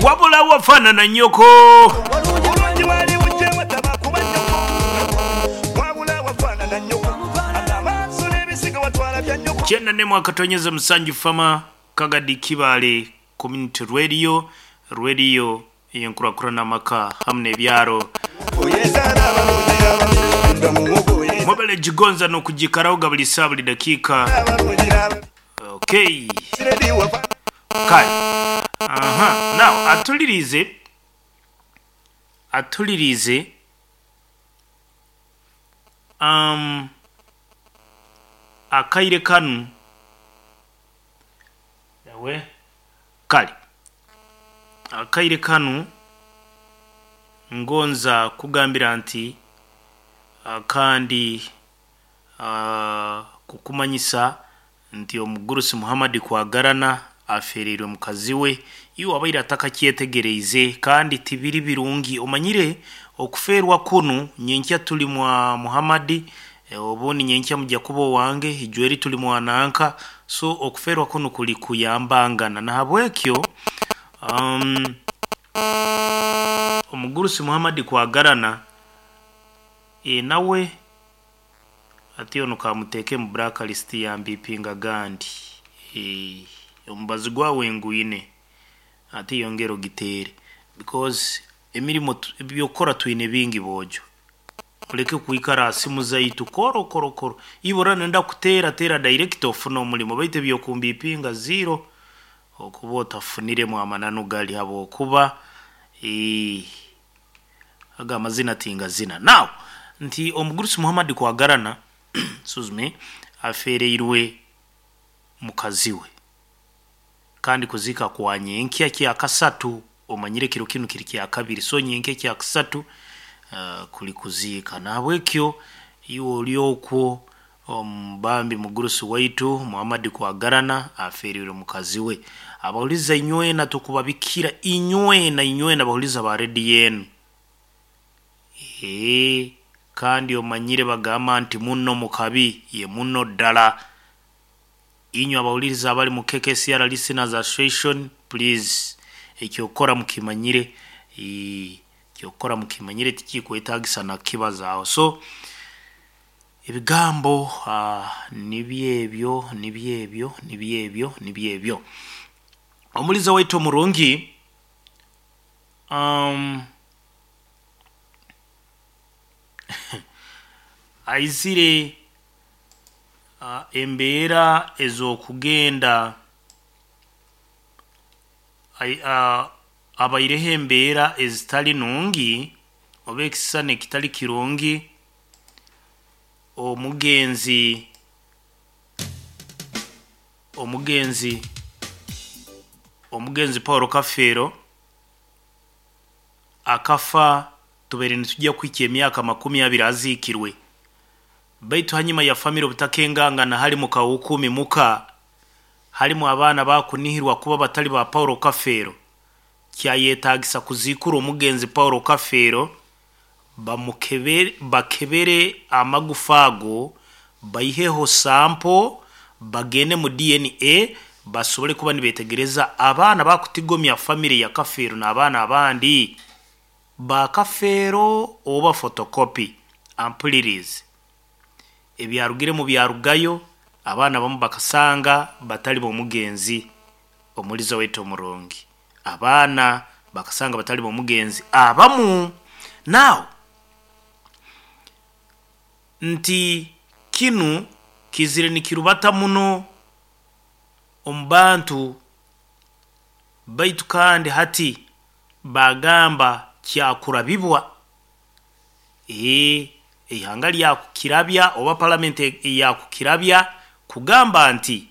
Wabula wafaanana nnyoko. Obulungi bwali bujje wataba kuba nnyoko. Wabula wafaanana nnyoko. Ate amaaso n'ebisiga watwala bya nnyoko. 94.7 Fama Kagadi Kibaale Community Radio, Radio ey'enkurakurana amaka hamu n'ebyaro. Oyezaala abalungi n'ababi nga muwogo oyezaala Mwebale gigonza n'okugikaraho buli saa buli dakiika. abalungi n'ababi. Okay. Siredi wafaanana. Kale. Aha. Now atulirize atulirize um, akaire kanu ewe kale akaire kanu ngonza kugambira nti kandi kukumanyisa nti omugurusi Muhammad Kwagarana afereirwe mukazi we iwe abaire atakakyetegereize kandi tibiri birungi omanyire okufeerwa kunu nyenkya tuli mwa Muhammad obundi nyenkya mujja kuba owange ijweri tuli mwananka so okufeerwa kunu kuli kuyambangana nahabwekyo omugurusi Muhammad Kwagarana nawe ati ono kamuteeke mu blacklist ya mbipinga gandi omubazi gwawe ngwine ate yongera ogiteere because emirimo ebyokukora twine bingi boojo oleke kwikara ha simu zaitu koro koro koro ibura nenda kuteera teera direct ofuna omulimo baitu ebyokumbipinga zero okuba otafuniremu amananu gali habwokuba aga amazina tingazina. Now nti omugurusi Muhammad Kwagarana excuse me afereirwe mukazi we kandi kuziika kwa nyenkya kyakasatu omanyire kiro kinu kiri kyakabiri so nyenkya kyakasatu kuli kuziika nahabwekyo iwe oli okwo omubambi mugurusi waitu Muhammad Kwagarana afereirwe mukazi we abahuliza inywena tukubabikira inywena inywena abahuliza ba rediyo enu kandi omanyire bagamba nti muno mukabi ye muno ddala inywe abahuliriza abali mu KKCR Listeners Association please ekyokukora mukimanyire ekyokukora mukimanyire tikikwetagisa nakibazaaho so ebigambo nibyo ebyo nibyo ebyo nibyo ebyo nibyo ebyo omuliza waitu omurungi aizire embeera ez'okugenda abaireho embeera ezitali nungi oba ekisisani ekitali kirungi omugenzi omugenzi omugenzi Paul Kafeero akafa tubaire nitujya kuhikya emyaka 20 aziikirwe baitu hanyuma ya family obutakengangana halimu kawukumi muka halimu abaana bakunihirwa kuba batali ba Paul Kafeero kyayetagisa kuziikura omugenzi Paul Kafeero bamukebere bakebere amagufa ago baiheho sample bagende mu DNA basobole kuba nibetegereza abaana bakutigomya family ya Kafeero n'abaana abandi ba Kafeero oba photocopy ampulirize ebyarugiremu byarugayo abaana bamu bakasanga batali b'omugenzi omuliza waitu omurungi abaana bakasanga batali b'omugenzi abamu now nti kinu kizire nikirubata muno omu bantu baitu kandi hati bagamba kyakurabibwa eihanga lyakukirabya oba palamenti yakukirabya kugamba nti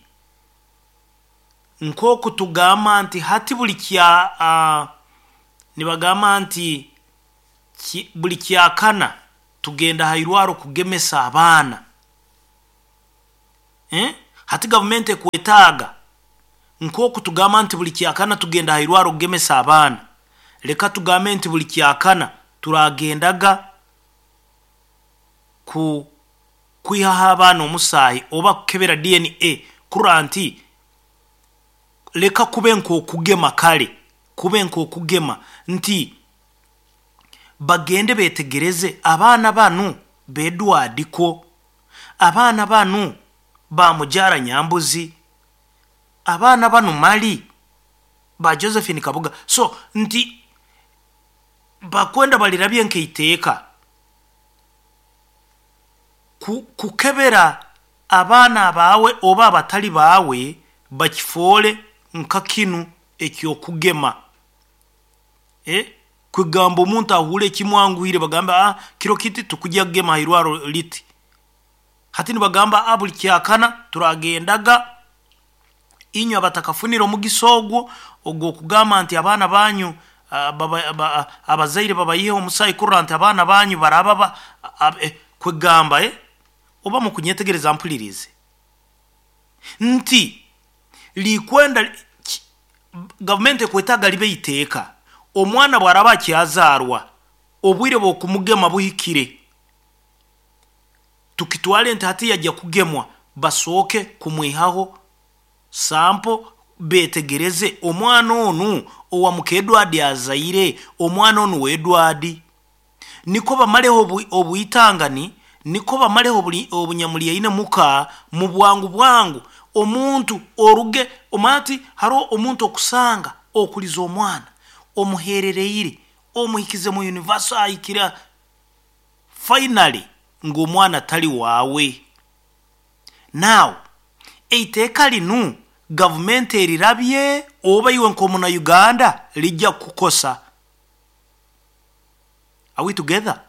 nk'oku tugamba nti hati buli kya nibagamba nti buli kyakana tugenda ha irwaro kugemesa abaana hati gavumenti ekwetaaga nk'oku tugamba nti buli kyakana tugenda ha irwaro kugemesa abaana leka tugambe nti buli kyakana turagendaga ku kwihaho abaana omusaahi oba kukebera DNA kurora nti leka kube nk'okugema kale. Kube nk'okugema nti bagende betegereze abaana banu bedwadiko, abaana banu ba Mujara Nyambuzi, abaana banu mali ba Josephine Kabuga. So nti bakwenda balirabye nk'eiteeka kukebera abaana baawe oba abatali baawe, bakifoole nka kinu eky'okugema. Kwegamba omuntu ahuure ekimwanguhire, bagambe kiro kiti tukujya kugema ha irwaro liti. Hati nibagamba buli kyakana turagendaga, inywe abatakafunire omugisa ogwo ogw'okugamba nti abaana banyu abazaire babayiheho omusaayi kurora nti abaana banyu baraba kwegamba oba mukunyetegereza mpulirize nti likwenda gavumenti ekwetaaga libe iteeka. Omwana bw'araba akyazaarwa, obwire bw'okumugema buhikire, tukitwale nti hati yajya kugemwa, basooke kumwihaho sampo betegereze omwana onu owa muka Edward azaire, omwana onu wa Edward, niko bamaleho obwitangani, niko bamaleho obunyamulyaine muka mu bwangu bwangu. Omuntu oruge omati haroho omuntu okusanga okuliza omwana omuherereire omuhikize mu universal ahikira finally ngu omwana tali waawe. Now eiteeka linu gavumenti erirabye oba iwe nk'omuna Uganda lijja kukukosa. Are we together?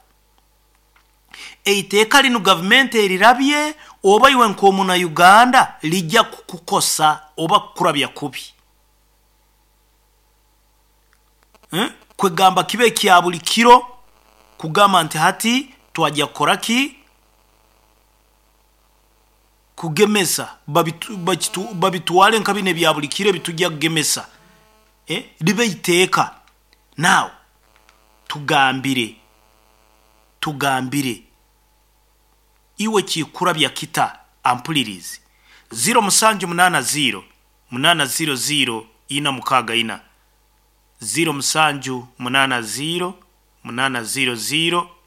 Eiteeka linu gavumenti erirabye oba iwe nk'omuna Uganda lijja kukukosa oba kukurabya kubi. Kwegamba kibe kya buli kiro kugamba nti hati twajya kukora ki? Kugemesa babitwale nka bino ebya buli kiro ebitujja kugemesa. Libe iteeka. Now tugambire iwe kikurabya kita ampulirizi 0780 800 464 0780 800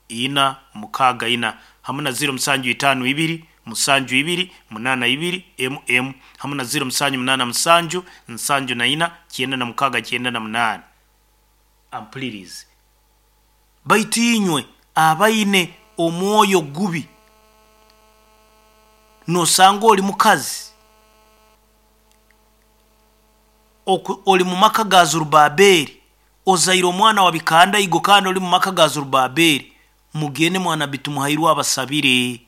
464 hamwe na 0752 72 82 mm hamwe na 0787 74 96 98. Ampulirizi baitu inywe abaine omwoyo gubi, nosanga oli mukazi oli mu maka ga Zerubabeli, ozaire omwana wa bikandaigo kandi oli mu maka ga Zerubabeli, mugende mwana bitumuhairwe abasabire,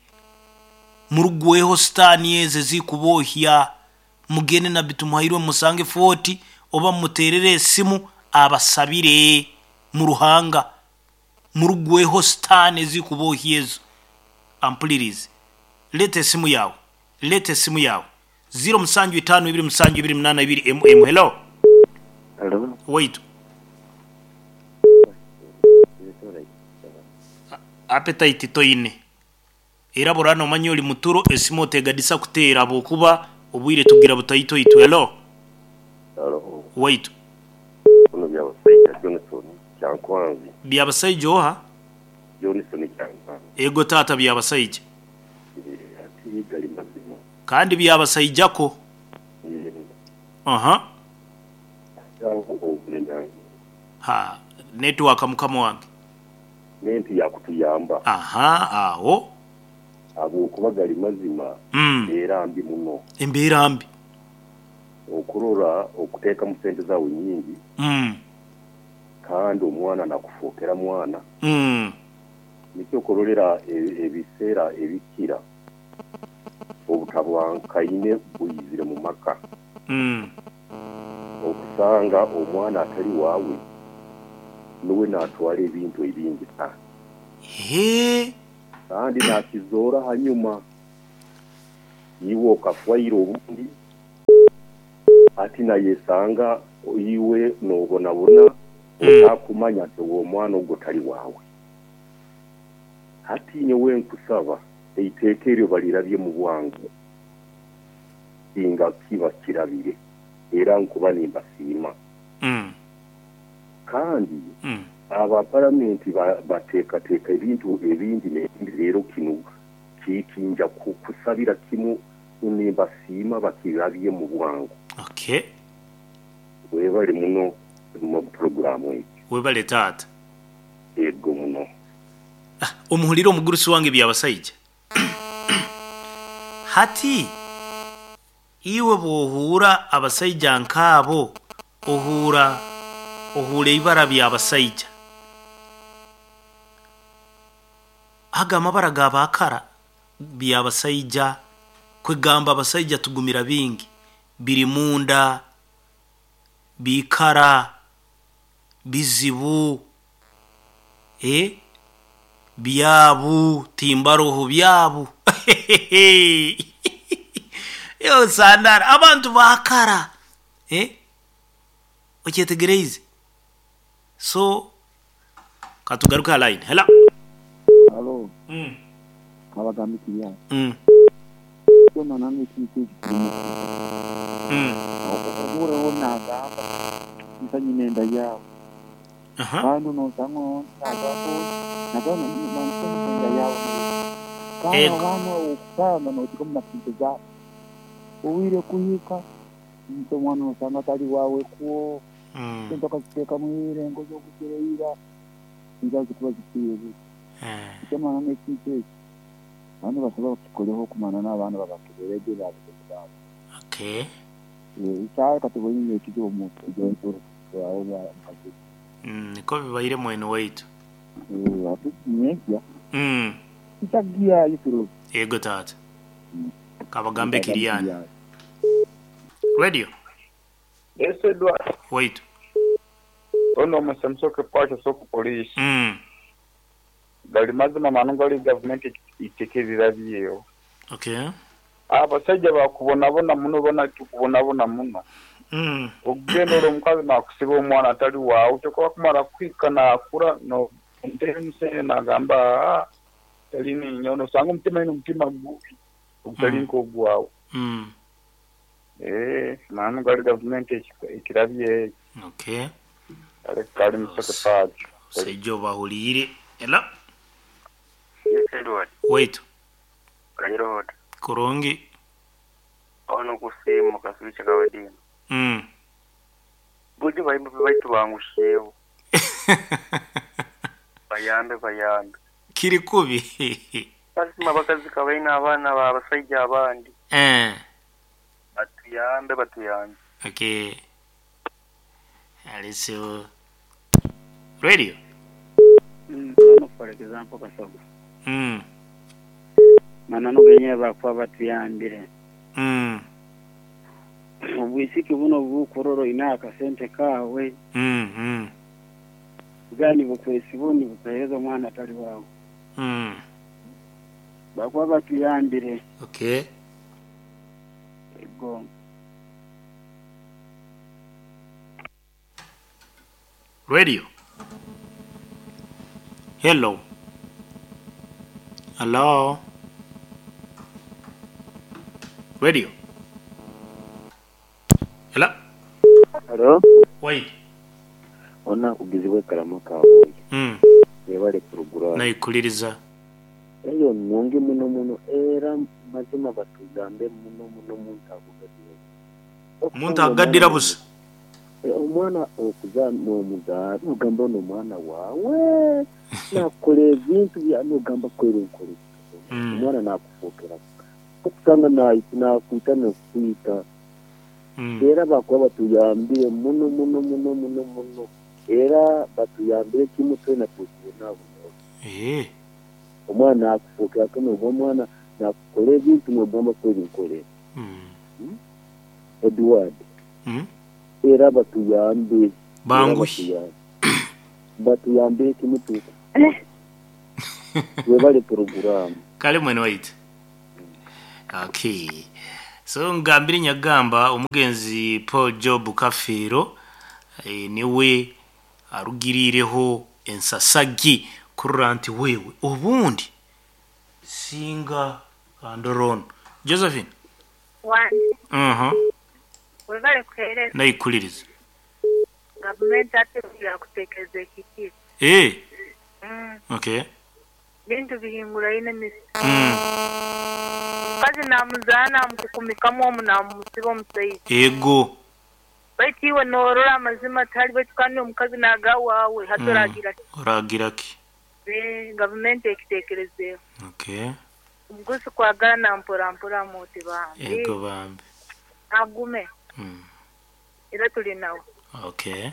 murugweho sitaani ezo ezikubohya, mugende na bitumuhairwe musange 40 oba mumuterere esimu abasabire mu Ruhanga, murugweho sitaani ezikubohya ezo. Ampulirize, leeta esimu yawe, leeta esimu yawe 0752 72 82 mm. Hello. Hello. Waitu appetite toine era burana omanye oli muturo, esimu otegadisa kuteera habwokuba obwire tugira butaito itwe. Hello. Hello. Waitu. Kuno Byabasaija Johnson Kyankwanzi. Byabasaija oha? Johnson Kyankwanzi. Ego taata Byabasaija. Ati gali mazima. Kandi Byabasaijako. Aha. Ha, network mukama wange. Nenti yakutuyamba. Aha, aho. Habwokuba gali mazima. Embeera mbi muno. Embeera mbi. Okurora okuteekamu sente zaawe nyingi. Kandi omwana nakufookera mwana. Nikyo okurorera ebiseera ebikira obutabwankaine bwizire mu maka. Okusanga omwana atali waawe nuwe natwara ebintu ebingi sana. Kandi nakizoora hanyuma iwe okafwaire obundi ati nayesanga iwe nobonabona otakumanya nti omwana ogwo tali waawe. Hati nyowe nkusaba eiteeka eryo balirabye mu bwangu singa kiba kirabire era nkuba nimbasiima. Kandi aba paramenti bateekateeka ebintu ebindi n'ebindi, leero kinu kinja kusabira kimu nimbasiima bakirabye mu bwangu. Okay. Webale muno mu puroguramu egi. Webale taata. Ego muno. Ah, omuhulire omugurusi wange Byabasaija. Hati iwe bw'ohuura abasaija nk'abo, ohuura ohuura eibara Byabasaija. Ago amabara ga baakara Byabasaija, kwegamba abasaija tugumira bingi, biri munda, biikara, bizibu, eh, byabu, timbaroho byabu. Yo Sandara, abantu baakara, eh, okyetegereize? So katugaruke ha line. Hello. Halo, kabagamba ekirya. Kyona nange ekintu ekyo kirimu. Ohureho nagamba nsa nyina enda yawe. Kandi nosanga ondi nagamba oti nagamba nsa nyina enda yawe. Kandi abaana okusanga noteekamu na sente zaabo. Obwire kuhika nti omwana nosanga atali wawe kwo. Sente okaziteekamu ira, engozi oguzire ira, nizo zikuba zifiire busa. Ekyo mana n'ekintu ekyo abantu basaba bakikoleho okumana n'abaana babakeberege babagenzi baabo. Okay. Isaha katuboine ekizibu omu mukazi. Niko bibaire mwene waitu. Ati nyenkya. Nchagiyayo kiro. Ego taata. Kabagambe Kiriani. Radio. Yes Edward. Waitu. Ono omusamusoke kwakyo so ku police. Gali mazima manu gali gavumenti itekererabyeyo. Okay. Abasaija bakubonabona muno bona tukubonabona muno. Okugenda ole omukazi nakusiba omwana atali waawe kyoka wakumara kuhika nakura no omutere nagamba tali ninyo nosanga omutima ino omutima gubi ogutali nk'ogwawe. Manu gali gavumenti ekirabye. Okay. Kale kali musoke pacho. Seijo bahuliire. Ela. Yes, Edward. Wait. Kanyiro hot. Kurungi. Ono kusimu kasubicha kawadini. Buju bayimba baitu bangushewo. Bayambe bayambe. Kiri kubi. Basima bakazi kabaina abaana babasaija abandi. Batuyambe batuyambe. Okay. Aliso Radio. For example kasogo. Manano genye bakuba batuyambire. Obwisiki buno bukuroro ina akasente kawe. Gani bukwesi buni bupereza omwana atali wawe. Bakuba batuyambire. Okay. Go. Radio. Hello. Hello. Radio. Hello. Hello. Wait. Ona kugizibwe kalama kawe. Yebale kurugura. Nayikuliriza. Eyo nungi muno muno era mazima batugambe muno muno muntu akugadira. Muntu agadira busa. Omwana okuza n'omuzaala ogamba ono omwana waawe nakola ebintu nogamba kwera nkole omwana nakufuukira okusanga nakwita nokwita era bakuba batuyambire muno muno muno muno muno era batuyambire kimu twena tukubonabona. Omwana nakufuukirako noba omwana nakukola ebintu nogamba kwera nkole. Edward. Era batuyambe. Banguhi. Batuyambe kimutu. Webale programu. Kale mwene waitu. Okay. So ngambire nyagamba omugenzi Paul Job Kafiro niwe arugirireho ensasagi kurura nti wewe obundi singa kandorono. Josephine. Wani. Webale kuhereza. Nayikuliriza. Gavumenti ate yakutekereza ekikire. Okay. Bintu bihinguraine misi. Mukazi namuzaana namukukumikamu omu namusiba omusaija. Ego. Baitu iwe noorora amazima tihali baitu kandi omukazi naaga waawe hati oragira ki? Oragira ki? Gavumenti ekiteekerezeeho. Okay. Omugurusi kwagala na mpora mpora muti bambi. Ego bambi. Agume. Era tuli nawe. Okay.